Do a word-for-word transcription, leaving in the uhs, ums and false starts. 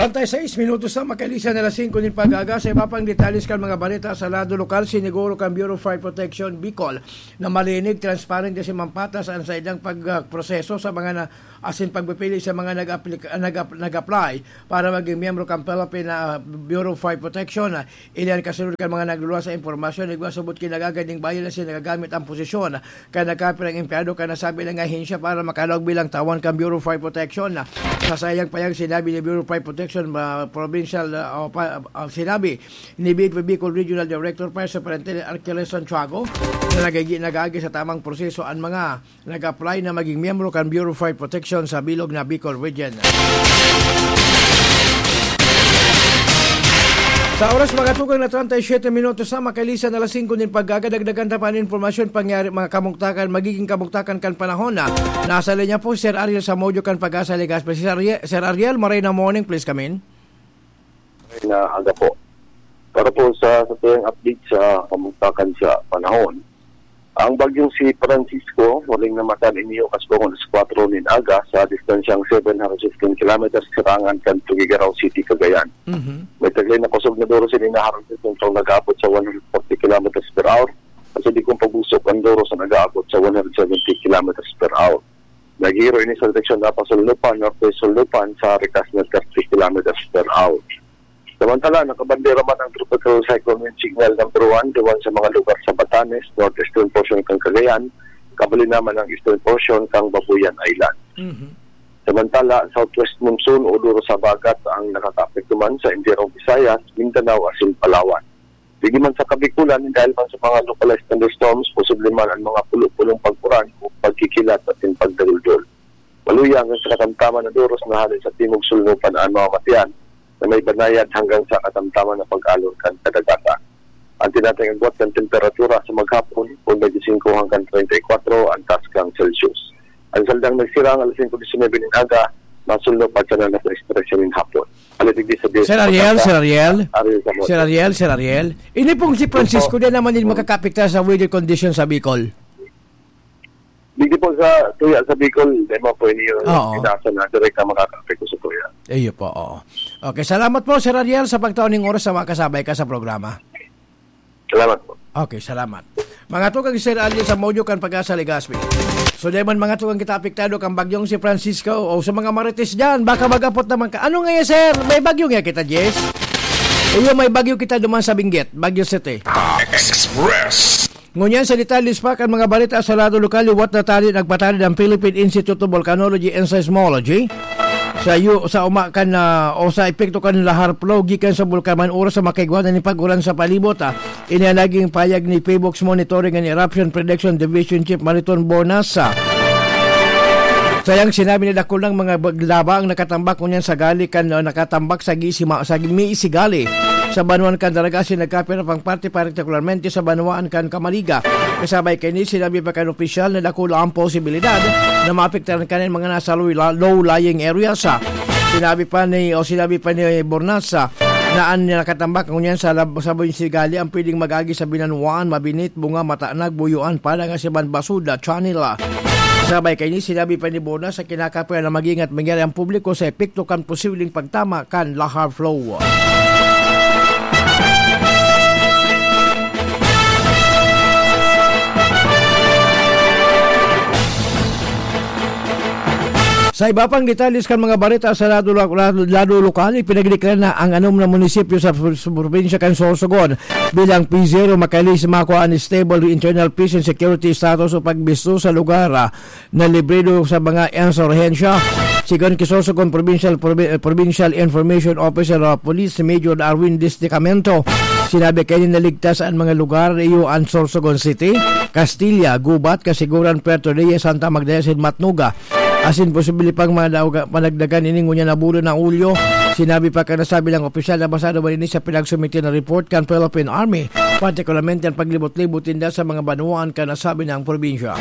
Treinta y seis minutos na makailisan na alas singko nin pag-aga. Sa iba pang detalles kan mga balita sa lado lokal, siniguro kan Bureau of Fire Protection Bicol na malinig, transparent asin mampatas an saindang pag, ah, proseso sa mga na, asin pagpipili sa mga nag-aplik-, nag-ap-, nag-apply para maging miyembro kan Philippine, ah, Bureau of Fire Protection. Ini an kasunod kan mga nagluluwas sa impormasyon na igwa subot ki nagagad nin bayad asin nagagamit an posisyon kan nagkapirang empleyado kan nasabi na ahensya para makalaog bilang tawan kan Bureau of Fire Protection. Sa saiyang pahayag, sinabi ni Bureau of Fire Protection, ah, Provincial, ah, o pa, ah, sinabi ni B F P Bicol Regional Director Fire Superintendent Arqueles Santiago na nagigi-, nag-aagi sa tamang proseso an mga nag-apply na maging miyembro kan Bureau of Fire Protection sa bilog na Bicol Region. Sa oras, mga tugang, na treinta y siete minutos na, makailisan na alas singko nin pag-aga. Dagdagan ta pa an impormasyon, pangyari, mga kamugtakan, magiging kamugtakan kan panahon na. Nasa linya po si Sir Ariel Samodio kan Pag-asa Legazpi. Sir Ariel, Sir Ariel, maray na morning, please come in. Ay, na aga po. Para po sa, sa tuyang update sa kamugtakan sa panahon, ang bagyong si Francisco, huling namatan ini, oras po alas kwatro nin aga, sa distansyang seven hundred fifteen kilometers, sirangan kan Tuguegarao City, Cagayan. Mhm. May taglay na kusog na duros ini na harong sa sentrong nag-aabot sa one hundred forty kilometers per hour, sa digong pabusok ang duros na nag-aabot sa one hundred seventy kilometers per hour. Naghihiro ini sa direksyon na pasulnupan, norte-sulnupan, sa rikas na thirty kilometers per hour. Samantala, nakabandera man ang Tropical Cyclone Wind Signal number one duman sa mga lugar sa Batanes, northeastern portion kan Cagayan, kabali naman ang eastern portion kan Babuyan Island. Mhm. Samantala, southwest monsoon o duros sa habagat ang nakakaapekto man sa entirong Visayas, Mindanao asin Palawan. Digdi man sa Kabikulan, dahil man sa mga localized thunderstorms, posible man ang mga pulo-pulong pag-uran o pagkikilat asin pagdaruldol. Maluya hanggang sa katamtaman na duros na hale sa timog sulnupan an mamamatean na may banayad hanggang sa katamtaman na pag-alon kan kadagatan. An tinatayang agwat kan temperatura sa maghapon, kung twenty-five hanggang treinta y kuwatro an taas kan Celsius. An saldang nagsirang alas singko disinebe nin aga, masulno pa siya na alas tres trese nin hapon. Alas digdi sa Sir Ariel, Sir Ariel. Ariel Zamora. Sir Ariel, Sir Ariel. Ini pong si Francisco, Opo. Di naman din makakapektar sa weather condition sa Bicol. Digdi po sa tuya sa Bicol, di mo po ini yung Oo. Inasa na direct na makakapekto sa tuya. Iyo po, oo. Okay, salamat po, Sir Ariel, sa pagtaon ng oras sa makasabay ka sa programa. Salamat po. Okay, salamat. Mga tugang, Sir Ariel Samodio kan Pag-asa Legazpi. So, diman, mga tugang, kita apektado kan bagyong si Francisco o sa mga marites dyan, baka mag-apot naman ka. Ano nga yan, sir? May bagyo nga kita, Jess? Iyo, may bagyo kita duman sa Benguet, Baguio City. Express. Ngunyan sa detalles pa kan mga balita sa lado lokal, liwat na tanod nagpatanod ang Philippine Institute of Volcanology and Seismology sa yu-, sa uma kan, ah, o sa epekto kan lahar flow gikan sa bulkan man oras sa makaigwa na ni pag-uran sa palibot, ah. Ini ang naging payag ni PHIVOLCS Monitoring and Eruption Prediction Division Chief Mariton Bornasa. Sayang sinabi na dakul nang mga bag-, laba ang nakatambak ngunyan sa gali kan, ah, nakatambak sa gisima, sa Misigali, sa banwaan kan Daraga, asin nagkapira pang parte, partikularmente sa banwaan kan Camariga. Kasabay kaini, sinabi pa kan opisyal na dakula ang posibilidad na maapektaran kanin mga nasa low, low-lying areas. Sinabi pa ni, o sinabi pa ni Bornasa na an nakatambak ngunyan sa lab-, sa Misigali ang pwedeng mag-agi sa Binanwaan, Mabinit, Bunga, Matanag, Buyuan, Padangas, iban Basuda, Chanila. Sabay kaini, sinabi pa ni Bornasa, kinakapira na mag-ingat mangyari ang publiko sa epekto kan posibleng pagtama kan lahar flow. Sa iba pang detalles kan mga balita sa lado, lado, lado lokal, ipinagdeklara na ang anom na munisipyo sa, sa probinsya kan Sorsogon bilang P zero, makailis makua an stable internal peace and security status o pagbisto sa lugar, ah, na librido sa mga insurhensya. Sigon ki Sorsogon Provincial, Provi-, Provincial Information Officer, ah, Police Major Darwin Desticamento, sinabi kaini na ligtas an mga lugar, iyo an Sorsogon City, Castilla, Gubat, Casiguran, Puerto Reyes, Santa Magdalena, asin Matnuga. Asin posible pang mga dauga-, panagdagan ini ngunyan na bulan na Hulyo. Sinabi pa kan nasabing opisyal na basado man ini sa pinagsumite na report kan Philippine Army, partikularmente ang paglibot-libot ninda sa mga banwaan kan nasabing probinsya.